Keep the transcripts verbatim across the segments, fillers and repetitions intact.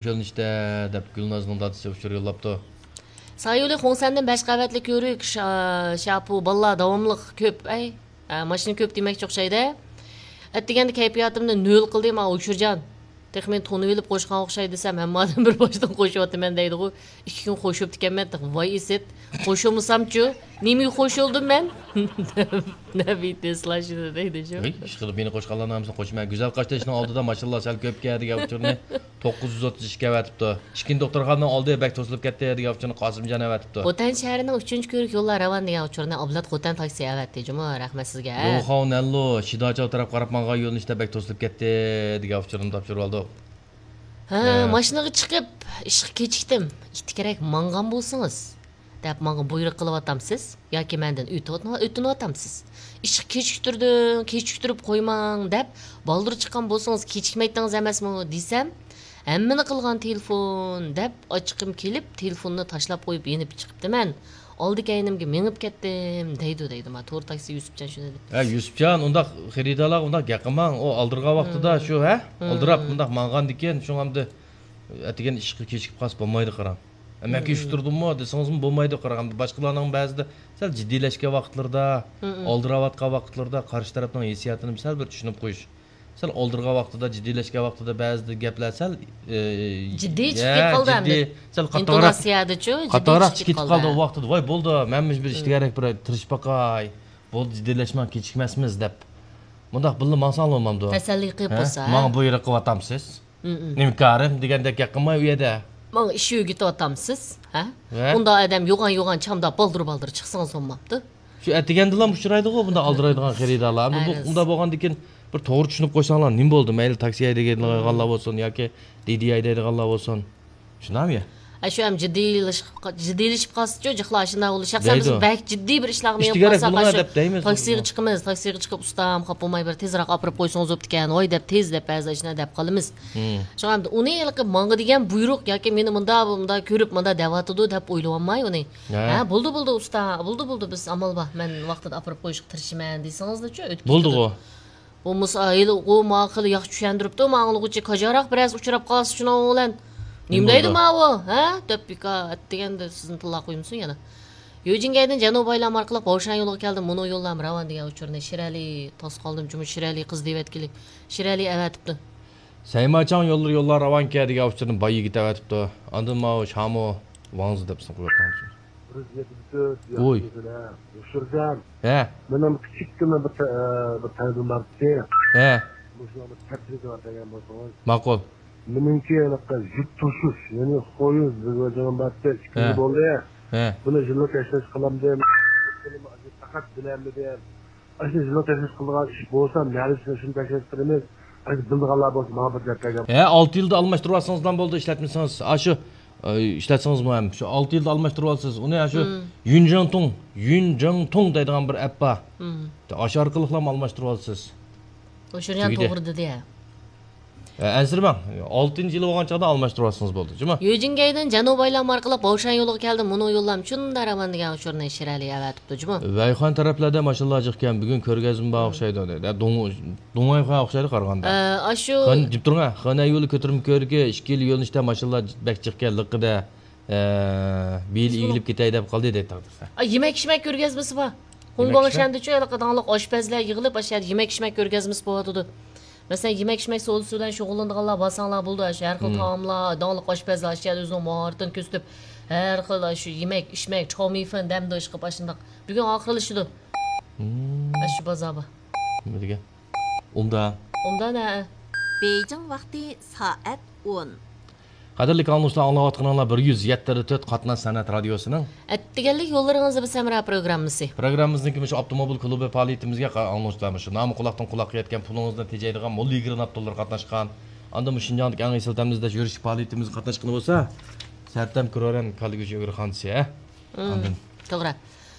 يۆنىلىشتە، دەپ گۈلنازنىڭ دادىسى ئۇچۇر يوللاپتۇ. سايولى خۇڭسەندىن بەش قەۋەتلىك يۈرۈك شا-، شاپۇ باللا داۋاملىق كۆپ، ئەي. ئە، ماشىنا كۆپ دېمەكچى ئوخشايدۇ. ئەتىگەندە كەيپىياتىمنى نۆل قىلدى، ما ئۇچۇرجان. تېخى مېنى تونۇۋېلىپ قوشقان ئوخشايدۇ دېسەم، ھەممە ئادەم بىر باشتىن قوشۇۋاتىمەن دەيدىغۇ. ئىككى كۈن قوشۇپتىكەنمەن، تېخى ۋاي ئىسىت. قوشۇلمىسامچۇ؟ نېمىگە قوشۇلدۇم مەن؟ دەپ نەبىتى سىلاشىدۇ دەيدۇ شۇ. ھېي، ئىشقىلىپ مېنى قوشقانلارنىڭ ھەممىسىنى قوشىمەن. گۈزەل قاشتېشىنىڭ ئالدىدا ماشىنىلار سەل كۆپكەن دېگەن ئۇچۇرنى توققۇز يۈز ئوتتۇز ئىككى ئەۋەتىپتۇ. ئىككىنچى دوختۇرخانىنىڭ ئالدى بەك توسۇلۇپ كەتتى دېگەن ئۇچۇرنى قاسىمجان ئەۋەتىپتۇ. خوتەن شەھىرىنىڭ ئۈچىنچى كۆۋرۈك يوللار راۋان دېگەن ئۇچۇرنى ئابلەت خوتەن تاكسى ئەۋەتتى جۇمۇ، رەھمەت سىزگە. يوخاۋ نەنلۇ، شىداچاۋ تەرەپ قاراپ ماڭغان يۆنىلىشتە بەك توسۇلۇپ كەتتى دېگەن ئۇچۇرنى تاپشۇرۇۋالدۇق. ھە، ھە. ماشىنىغا چىقىپ، ئىشقا كېچىكتىم. ئىتتىكرەك ماڭغان بولسىڭىز، دەپ ماڭا بۇيرۇق قىلىۋاتامسىز ياكى مەندىن ئۆتۈنۈۋاتامسىز؟ ئىشقا كېچىكتۈردۈڭ، كېچىكتۈرۈپ قويماڭ، دەپ بالدۇر چىققان بولسىڭىز كېچىكمەيتتىڭىز ئەمەسمۇ دېسەم، ھەممىنى قىلغان تېلېفون، دەپ ئاچچىقىم كېلىپ، تېلېفوننى تاشلاپ قويۇپ يېنىپ چىقىپتىمەن. ئالدى كەينىمگە مېڭىپ كەتتىم، دەيدۇ، دەيدۇ. ما تور تاكسى يۈسۈپجان شۇنى دەپ. ھە، يۈسۈپجان، ئۇنداق خېرىدارلارغا ئۇنداق گەپ قىلماڭ. ئۇ ئالدىرىغان ۋاقتىدا شۇ، ھە؟ ئالدىراپ ئۇنداق ماڭغاندىكىن، شۇڭا ئەمدى ئەتىگەن ئىشقا كېچىكىپ قالسا بولمايدۇ، قاراڭ. ئە، مەن كېچىكتۈردۈممۇ دېسىڭىزمۇ بولمايدۇ، قاراڭ. ئەمدى باشقىلارنىڭ بەزىدە سەل جىددىيلەشكەن ۋاقىتلىرىدا، ئالدىراۋاتقان ۋاقىتلىرىدا قارشى تەرەپنىڭ ھېسسىياتىنى سەل بىر چۈشىنىپ قويۇش. سەل ئالدىرىغان ۋاقتىدا، جىددىيلەشكەن ۋاقتىدا بەزىدە گەپلەر سەل، ئى، جىددىي چىقىپ يە، كېتىپ قالدى جىددىي، ئەمدى. سەل قاتتىقراق، ئىنتوناتسىيەدىچۇ، جىددىي قاتتىقراق چىقىپ چىقىپ كېتىپ قالدى. قالدى ئۇ ۋاقتىدا. ۋاي، بولدى، مەنمۇ بىر ئىشتىكەرەك بىر تىرىشىپ باقاي. بولدى، جىددىيلەشمەڭ، كېچىكمەسمىز، دەپ. مۇنداق بىللە ماڭساڭلار بولمامدۇ؟ تەسەللى قىلىپ ھە؟ بولسا، ھە؟ ماڭا بۇيرۇق قىلىۋاتامسىز؟ نېمە كارىم دېگەندەك گەپ قىلماي ئۇ يەردە. ماڭا ئىش ئۆگىتىۋاتامسىز؟ ھە؟ ھە؟ ئۇنداق ئادەم يوغان-يوغان چامدا بالدۇر-بالدۇر چىقسىڭىز بولمامدۇ؟ شۇ ئەتىگەندىلا ئۇچرايدىغۇ بۇنداق ئالدىرايدىغان خېرىدارلار. ئەمدى بۇ، ئۇنداق بولغاندىكىن بىر توغرا چۈشىنىپ قويساڭلار نېمە بولدى؟ مەيلى تاكسى ھەيدەيدىغانلار بولسۇن ياكى دىدى ھەيدەيدىغانلار بولسۇن. شۇنداقمۇ يا؟ ئە، شۇ ھەم جىددىيلىشىپ، جىددىيلىشىپ قالسىچۇ، جىقلا ئاشۇنداق بولۇش. شەخسەن بىز دەيدۇ. بەك جىددىي بىر ئىشلارغا مېڭىپ قالساق، بولۇڭە ئاشۇ دەپ دەيمىز. تاكسىغا چىقىمىز، تاكسىغا چىقىپ، ئۇستام، خاپا بولماي بىر تېزراق ئاپىرىپ قويسىڭىز بوپتىكەن، ۋاي دەپ، تېز دەپ بەزىدە ئاشۇنداق دەپ قالىمىز. شۇڭا ئەمدى ئۇنى ھېلىقى ماڭا دېگەن بۇيرۇق ياكى مېنى مۇندا، مۇندا كۆرۈپ، مۇندا دەۋاتىدۇ دەپ ئويلىۋالماي ئۇنى. ھە، بولدى، بولدى، ئۇستا، بولدى، بولدى، بىز ئامال بار، مەن ۋاقتىدا ئاپىرىپ قويۇشقا تىرىشىمەن دېسىڭىزلىچۇ، ئۆتۈپ كېتىدۇ. بولمىسا، ھېلىغۇ ماڭا خېلى ياخشى چۈشەندۈرۈپتۇ، ماڭا ئاڭلىغۇچى كاجاراق بىرەرسى ئۇچراپ قالسا شۇنىڭ بىلەن نېمە دەيدۇ ماۋۇ، ھە؟ دەپ بىكار ئەتىگەندە سىزنى تىللاپ قويمىسۇن يەنە. يۆجىڭگەيدىن جەنۇبىي بايلام ئارقىلىق باۋشان يولىغا كەلدىم، مۇنۇ يوللام راۋان دېگەن ئۇچۇرنى شىرئەلى تاس قالدىم، جۇمۇ شىرئەلى قىز دېۋەتكىلى. شىرئەلى ئەۋەتىپتۇ. سەيماچاڭ يوللىرى يوللار راۋانكەن دېگەن ئۇچۇرنى باي يىگىت ئەۋەتىپتۇ. ئاندىن ماۋۇ شامۇ ۋاڭزى دەپ ئىسىم قويۇپتۇ. بىر يۈز يەتمىش تۆت ۋوي. ياخشى بىلە، يوشۇرجان. ھە. مېنىڭ كىچىككىنە بىر تە-، بىر تەلىپىم بار ئىدى. ھە. مۇشۇنىڭ بىر تەپسىلىگە بەرگەن بولسىڭىز. ماقۇل. مېنىڭكى ھېلىقى يۈك توشۇش، يەنى خويۇز بىر ۋەجىنىم بار ئىدى، ئىككى يىل ھە. بولدى. ھە. بۇنى يىللىق تەكشۈرۈش قىلامدىم. پەقەت بىلەلمىدىم. ئاشۇ يىللىق تەكلىپ قىلىدىغان ئىش بولسا، نەدە شۇنى تەكلىپ قىلىمىز. ئاشۇ بىلىدىغانلار بولسا، ماڭا بىر دەپ بەرگەن. ھە، ئالتە يىلدا ئالماشتۇرۇۋالسىڭىزلا بولدى، ئىشلەتمىسىڭىز. ئاشۇ، ئى، ئىشلەتسىڭىزمۇ ھەم. شۇ ئالتە يىلدا ئالماشتۇرۇۋالىسىز. ئۇنى ئاشۇ يۈنجېڭتۇڭ، يۈنجېڭتۇڭ دەيدىغان بىر ئەپ بار. ئاشۇ ئارقىلىقلا ئالماشتۇرۇۋالىسىز. ئۇ شۇريان تۈگىدى. توغرا دېدى ھە. ئە، ئەنسىرىمەڭ. ئالتىنچى يىل بولغان چاغدا ئالماشتۇرۇۋالسىڭىز بولدى، جۇمۇ. يۆجىڭگەيدىن جەنۇبىي بايلام ئارقىلىق باۋشان يولىغا كەلدى، مۇنۇ يوللام چۈندە راۋان دېگەن ئۇچۇرنى شىرئەلى ئەۋەتىپتۇ، جۇمۇ. ۋەيخۇەن تەرەپلەردە ماشىنىلار جىقكەن، بۈگۈن كۆرگەزمە بار ئوخشايدۇ، دەيدۇ. دۇڭ-، دۇڭۋەيخۇەن ئوخشايدۇ قارىغاندا. ئە، ئاشۇ خېنەن، دېيىپ تۇرۇڭ ھە، خېنەن يولى كۆتۈرمە كۆۋرۈكى، ئىككى يىل يۆنىلىشتە ماشىنىلار بەك جىقكەن، لىققىدە، ئە، بىر يىل ئىگىلىپ كېتەي دەپ قالدى، دەيدۇ تەقدىر. ئا، يېمەك ئىچمەك كۆرگەزمىسى بار. خۇڭگۇاڭ شەندىچۇ ھېلىقى داڭلىق ئاشپەزلەر يىغىلىپ، ئاشۇ يەردە يېمەك ئىچمەك كۆرگەزمىسى بولۇۋاتىدۇ. مەسىلەن، يېمەك ئىچمەك سودىسى بىلەن شۇغۇللىنىدىغانلار بارساڭلار بولىدۇ، ئاشۇ ھەر خىل تائاملار، داڭلىق ئاشپەزلەر ئاشۇ يەردە ئۆزىنىڭ ماھارىتىنى كۆرسىتىپ، ھەر خىل ئاشۇ يېمەك ئىچمەك، چاۋمىفېن، دەمدۇ ئىشقىلىپ ئاشۇنداق. بۈگۈن ئاخىرلىشىدۇ. ئاشۇ بازار بار. نېمە دېگەن؟ ئومدا. ئومدا نە؟ بېيجىڭ ۋاقتى سائەت ئون. قەدىرلىك ئاڭلىغۇچىلار، ئاڭلاۋاتقىنىڭلار بىر يۈز يەتتە تۆت قاتناش سەنئەت رادىيوسىنىڭ ئەتىگەنلىك يوللىرىڭىزدا بىز ھەمراھ پروگراممىسى. پروگراممىمىزنىڭكى مۇشۇ ئاپتوموبىل كۇلۇبى پائالىيىتىمىزگە قا-، ئاڭلىغۇچىلار مۇشۇ نامى قۇلاقتىن قۇلاققا يەتكەن پۇلىڭىزنى تېجەيدىغان موللا يىگىرمە ئابدۇللار قاتناشقان. ئاندىن مۇشۇ شىنجاڭدىكى ئەڭ ئېسىل تەملىك يۈرۈشلۈك پائالىيىتىمىزگە قاتناشقىنى بولسا، سەرتەم كۈرۆرەن كاللىگۈچى ئۆگرە خانىسى، ھە؟ ئاندىن. توغرا.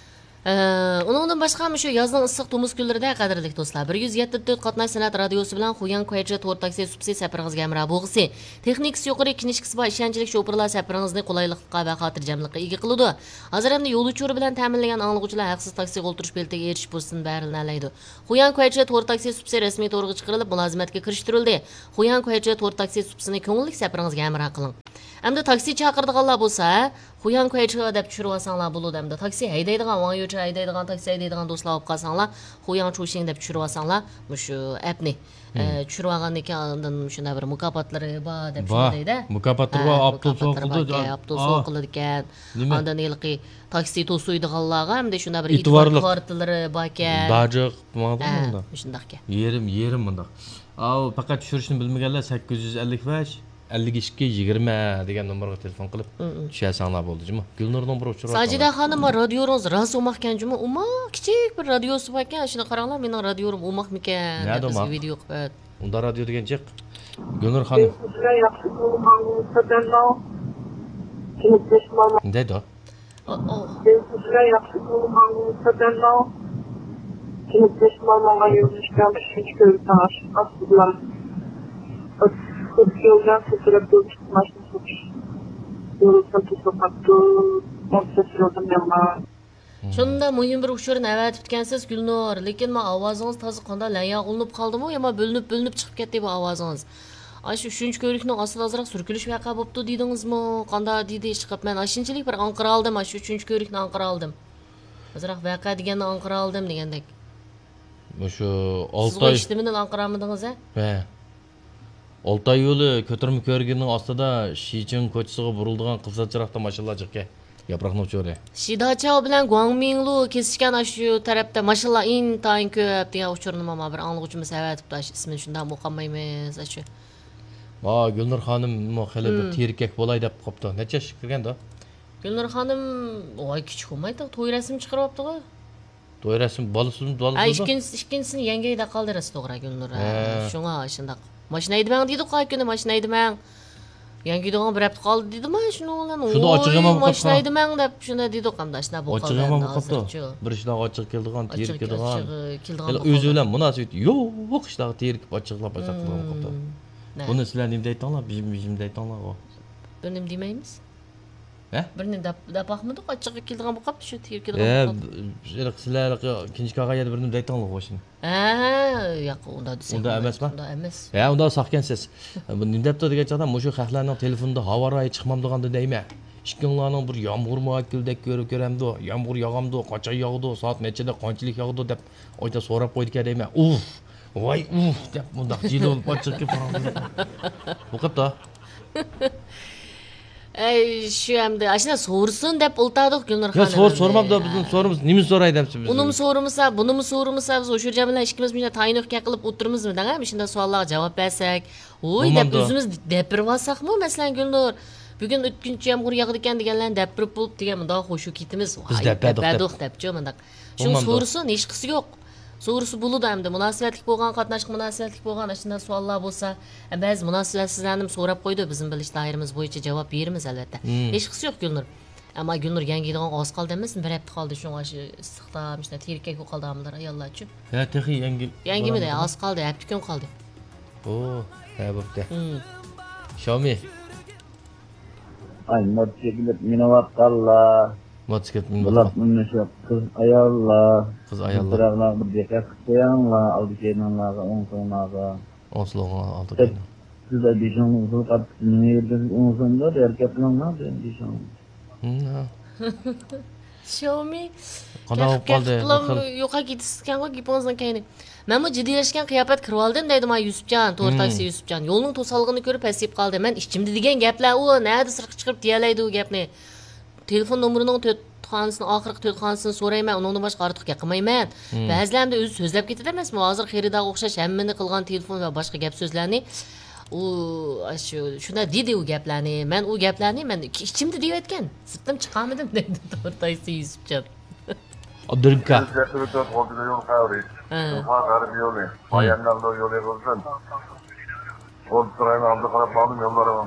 ئە، ئۇنىڭدىن باشقا، مۇشۇ يازنىڭ ئىسسىق تومۇز كۈنلىرىدە، قەدىرلىك دوستلار، بىر يۈز يەتتە تۆت قاتناش سەنئەت رادىيوسى بىلەن خۇياڭ كۇەيچې تور تاكسى سۇپىسى سەپىرىڭىزگە ھەمراھ بولغۇسى. تېخنىكىسى يۇقىرى، كىنىشكىسى بار، ئىشەنچلىك شوپۇرلار سەپىرىڭىزنى قولايلىقلىققا ۋە خاتىرجەملىكقە ئىگە قىلىدۇ. ھازىر ئەمدى يول ئۇچۇرى بىلەن تەمىنلىگەن ئاڭلىغۇچىلار ھەقسىز تاكسىغا ئولتۇرۇش بېلىتىگە ئېرىشىش پۇرسىتىدىن بەھرىلىنەلەيدۇ. خۇياڭ كۇەيچې تور تاكسى سۇپىسى رەسمىي تورغا چىقىرىلىپ، مۇلازىمەتكە كىرىشتۈرۈلدى. خۇياڭ كۇەيچې تور تاكسى سۇپىسىنى كۆڭۈللۈك سەپىرىڭىزگە ھەمراھ قىلىڭ. ئەمدى تاكسى چاقىرىدىغانلار بولسا، خۇياڭ كۇەيچې دەپ چۈشۈرۈۋالساڭلار بولىدۇ. ئەمدى تاكسى ھەيدەيدىغان، ۋاڭ يۇچى ھەيدەيدىغان، تاكسى ھەيدەيدىغان دوستلار بولۇپ قالساڭلار، خۇياڭ چۇشىڭ دەپ چۈشۈرۈۋالساڭلار، مۇشۇ ئەپنى، ئە، چۈشۈرۈۋالغاندىن كېيىن ئاندىن شۇنداق بىر مۇكاپاتلىرى بار دەپ شۇنداق دەيدۇ. مۇكاپاتلىرى بار، ئاپتوبۇس ئوقۇلىدىكەن، ئاپتوبۇس ئوقۇلىدىكەن. ئاندىن ھېلىقى تاكسى توسۇيدىغانلارغا ئەمدى شۇنداق بىر ئېتىبارلىق كارتىلىرى باركەن. باجىق، ماڭا مۇنداق. شۇنداقكەن. يېرىم، يېرىم مۇنداق. ئاۋۇ پەقەت چۈشۈرۈشنى بىلمىگەنلەر سەككىز يۈز ئەللىك بەش، ئەللىك ئىككى، يىگىرمە دېگەن نومۇرغا تېلېفون قىلىپ چۈشۈرسەڭلار بولدى جۇمۇ. گۈلنۇرنىڭ بىر ئۇچۇرى بار. ساجىدە خانىم، رادىيورىڭىز راست ئوماقكەن جۇمۇ. ئوماق، كىچىك بىر رادىيوسى باركەن. شۇنى قاراڭلار، مېنىڭ رادىيورۇم ئوماقمىكەن دەپ بىزگە ۋىدېئو قىلىپ. ئۇنداق رادىيو دېگەن جىق. گۈلنۇر خانىم. دەيدۇ. ئۇ، ئۇ. سىزگە ياخشى بولغان سەپەرنىڭ كېلىپ مېھمانلارغا يۆنىلىشكەن ئۈچىنچى كۆۋرۈكنىڭ ئاشقاسى بىلەن ئۆتۈپ يولدىن سەكرەپ يول چىقماشنى سوتۇش يولىسىنى توسۇپ قاپتۇ. ئون سەككىز يولدىن يامان. شۇنداق مۇھىم بىر ئۇچۇرنى ئەۋەتىپتىكەنسىز، گۈلنۇر. لېكىن ما ئاۋازىڭىز تازا قانداق لەڭياغ ئۇلىنىپ قالدىمۇ، يا ما بۆلۈنۈپ، بۆلۈنۈپ چىقىپ كەتتى بۇ ئاۋازىڭىز. ئاشۇ ئۈچىنچى كۆۋرۈكنىڭ ئاستىدا ئازراق سۈركىلىش ۋەقە بوپتۇ دېدىڭىزمۇ؟ قانداق دېدى ئىشقىلىپ؟ مەن ئاشۇنچىلىك بىر ئاڭقىرالدىم، ئاشۇ ئۈچىنچى كۆۋرۈكنى ئاڭقىرالدىم. ئازراق ۋەقە دېگەننى ئاڭقىرالدىم دېگەندەك. مۇشۇ سىزغۇ ئالتاي ئىشتىمىنى ئاڭقىرالمىدىڭىز ھە؟ ھە. ئالتاي يولى كۆتۈرمە كۆۋرۈكىنىڭ ئاستىدا شىچىڭ كوچىسىغا بۇرۇلىدىغان قىزىل چىراغدا ماشىنىلار جىقكەن. ياپراقنىڭ ئۇچۇرى. شىداچاۋ بىلەن گۇاڭمىڭلۇ كېسىشكەن ئاشۇ تەرەپتە ماشىنىلار ئىنتايىن كۆپ دېگەن ئۇچۇرنىمۇ ما بىر ئاڭلىغۇچىمىز ئەۋەتىپتۇ، ئاشۇ ئىسمىنى شۇنداقمۇ ئوقالمايمىز ئاشۇ. ۋا گۈلنۇر خانىممۇ خېلى بىر تېرىكەك بولاي دەپ قاپتۇ. نەچچە ياشقا كىرگەندۇ؟ گۈلنۇر خانىم ۋاي كىچىك بولمايتتى، توي رەسىمى چىقىرىۋاپتىغۇ. توي رەسىمى بالىسىمۇ، بالىسىمۇ. ئىككىنچىسى، ئىككىنچىسىنى يەڭگەيدە قالدى راست توغرا گۈلنۇر. ھە. شۇڭا شۇنداق. ماشىنا ھەيدىمەڭ دېدۇق ھە كۈنى، ماشىنا ھەيدىمەڭ. يەڭگىيدىغان بىر ھەپتە قالدى دېدىما شۇنىڭ بىلەن. شۇندا ئاچچىق يامان بولۇپ قاپتۇ. ماشىنا ھەيدىمەڭ دەپ شۇنداق دېدۇق ئەمدى ئاشۇنداق بولۇپ قالدى ئەمدى ھازىرچۇ. بىر ئىشلارغا ئاچچىق كېلىدىغان، تېرىكىدىغان. ئۆزى بىلەن مۇناسىۋىتى يوق ئىشلارغا تېرىكىپ ئاچچىقلاپ ئاشۇنداق قىلىدىغان بولۇپ قاپتۇ. بۇنى سىلەر نېمە دەيتىڭلار؟ بىزمۇ، بىزمۇ دەيتىڭلارغۇ. بىر نېمە دېمەيمىز. ھە؟ بىرنى دەپ، دەپ باقمىدۇق، ئاچچىقى كېلىدىغان بولۇپ قاپتۇ، شۇ تېرىكىدىغان بولۇپ قاپتۇ. ھېلىقى سىلەر ھېلىقى كىنىشكا ئالغان يەردە بىر نېمە دەيتىڭلار غوشىنى. ھە، ياق، ئۇنداق دېسەك ئۇنداق بولمايدۇ. ئەمەسما؟ ئۇنداق ئەمەس. ھە، ئۇنداق ساقكەنسىز. بۇ نېمە دەپتۇ دېگەن چاغدا، مۇشۇ خەقلەرنىڭ تېلېفونىدا ھاۋا رايى چىقمامدىغاندا دەيمەن. ئىككىڭلارنىڭ بىر يامغۇر مۇئەككىلدەك كۆرۈپ كۆرەمدۇ؟ يامغۇر ياغامدۇ؟ قاچان ياغىدۇ؟ سائەت نەچچىدە قانچىلىك ياغىدۇ؟ دەپ ئويدا سوراپ قويىدىكەن دەيمەن. ئۇف! ۋاي ئۇھ دەپ مۇنداق جىلىۋىلىپ ئاچچىقى پاراڭ بولۇپ قاپتۇ. ئەي شۇ ئەمدى ئاشۇنداق سورىسۇن دەپ ئولتۇردۇق گۈلنۇر خانىم. يا سور سورىماپتۇ، بىزدىن سورىمىسا نېمىنى سوراي دەپسىز بىز؟ ئۇنىمۇ سورىمىسا، بۇنىمۇ سورىمىسا، بىز ئوشۇرجان بىلەن ئىككىمىز مۇشۇنداق تايىنلىق گەپ قىلىپ ئولتۇرىمىزمۇ دەڭە، مۇشۇنداق سوئاللارغا جاۋاب بەرسەك. ۋوي دەپ ئۆزىمىز دەپرىۋالساقمۇ مەسىلەن گۈلنۇر. بۈگۈن ئۆتكۈنچى يامغۇر ياغىدىكەن دېگەنلەرنى دەپرىپ بولۇپ دېگەن مۇنداق خۇشۇ كېتىمىز. ۋاي دەپرىپ بولۇپ دەپچۇ مۇنداق. شۇڭا سورىسۇن، ھېچقىسى يوق. سورىسا بولىدۇ ئەمدى. مۇناسىۋەتلىك بولغان، قاتناشقا مۇناسىۋەتلىك بولغان ئاشۇنداق سوئاللار بولسا، بەزى مۇناسىۋەتسىزلەرنىمۇ سوراپ قويىدۇ، بىزمۇ بىلىش دائىرىمىز بويىچە جاۋاب بېرىمىز ئەلۋەتتە. ھېچقىسى يوق گۈلنۇر. ئەمما گۈلنۇر يەڭگىيدىغانغا ئاز قالدى ئەمەسمۇ؟ بىر ھەپتە قالدى، شۇڭا شۇ ئىسسىقتا مۇشۇنداق تېرىكەك بولۇپ قالدى ئامىللار، ئاياللارچۇ. ھە، تېخى يەڭگى-، يەڭگىمىدى، ئاز قالدى، ھەپتە كۈن قالدى. ئو، ھە، بوپتۇ. شاۋمى. ئاي، موتوسىكلىت مىنىۋاتقانلار. موتوسىكلىت مىنىۋاتقان. بۇلارمۇ مۇشۇ قىز ئاياللار. قىز ئاياللار. بىراقلارغا دىققەت قىلىپ قويۇڭلار، ئالدى كەينىڭلارغا، ئوڭ سوڭلارغا. ئوڭ سوڭلارغا، ئالدى كەينىڭ. سىز بىشىڭلار ئۇزۇل قاپتۇ، نېمە يېرىدىن ئوڭ سوڭدا، ھەرىكەت قىلىڭلار، دېدى بىشىڭلار. شاۋمى. قانداق بولۇپ قالدى؟ يوقاپ كېتىسىزكەنغۇ گېپىڭىزنىڭ كەينى. مەنمۇ جىددىيلەشكەن قىياپەت كىرىۋالدىم دەيدۇ مانا يۈسۈپجان، تور تاكسى يۈسۈپجان. يولنىڭ توسالغىنى كۆرۈپ پەسىيىپ قالدى. مەن ئىچىمدە دېگەن گەپلەر ئۇ، نەدە سىرتقا چىقىرىپ دېيەلەيدۇ ئۇ گەپنى. تېلېفون نومۇرىنىڭ تۆت خانىسىنى، ئاخىرقى تۆت خانىسىنى سورايمەن، ئۇنىڭدىن باشقا ئارتۇق گەپ قىلمايمەن. بەزىلەر ئەمدى ئۆزى سۆزلەپ كېتىدۇ ئەمەسمۇ؟ ھازىر خېرىدارغا ئوخشاش ھەممىنى قىلغان تېلېفون ۋە باشقا گەپ سۆزلەرنى. ئۇ، ئاشۇ، شۇنداق دېدى ئۇ گەپلەرنى. مەن ئۇ گەپلەرنى مەن ئىچ-، ئىچىمدە دېيىۋەتكەن. سىرتتىن چىقارمىدىم دەيدۇ تور تاكسى يۈسۈپجان. ئابدۇرېھىمكا. يۈز يەتتە تۆت غەربىي يول، شىنخۇا غەربىي يولى، بايەننەن يولى قىلسۇن. ئولتۇرايمەن، ئالدى قاراپ ماڭدىم يوللارغا.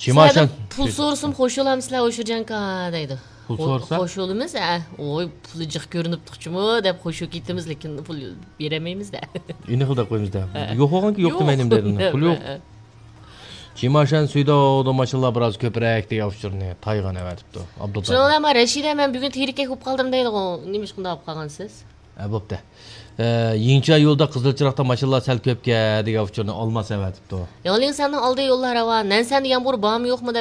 سىلەردىن پۇل سورىسام خوش بولامسىلەر ئوشۇرجانكا دەيدۇ. پۇل سورىسا؟ قوشۇلىمىز، ھە. ۋوي، پۇلى جىق كۆرۈنۈپتۇقچىمۇ دەپ قوشۇپ كېتىمىز، لېكىن پۇل بېرەلمەيمىز-دە. ئېنىقلا دەپ قويىمىز-دە. ھە. يوق بولغانكى يوق دېمەيلى دەيدۇ. پۇل يوق. ھە. چىماشان سۈيداۋدا ماشىنىلار بىراز كۆپرەك دېگەن ئۇچۇرنى تايغان ئەۋەتىپتۇ. ئابدۇللا. شۇنىڭ بىلەن رەشىدە، مەن بۈگۈن تېرىكەك بولۇپ قالدىم دەيدىغۇ. نېمە ئىش، قانداق بولۇپ قالغانسىز؟ ھە، بوپتۇ. ئە، يىڭچا يولدا قىزىل چىراغدا ماشىنىلار سەل كۆپكەن دېگەن ئۇچۇرنى ئالماس ئەۋەتىپتۇ. ياڭلىڭسەننىڭ ئالدى يوللار راۋان. نەنسەندە يامغۇر بارمۇ يوقمۇ دەپ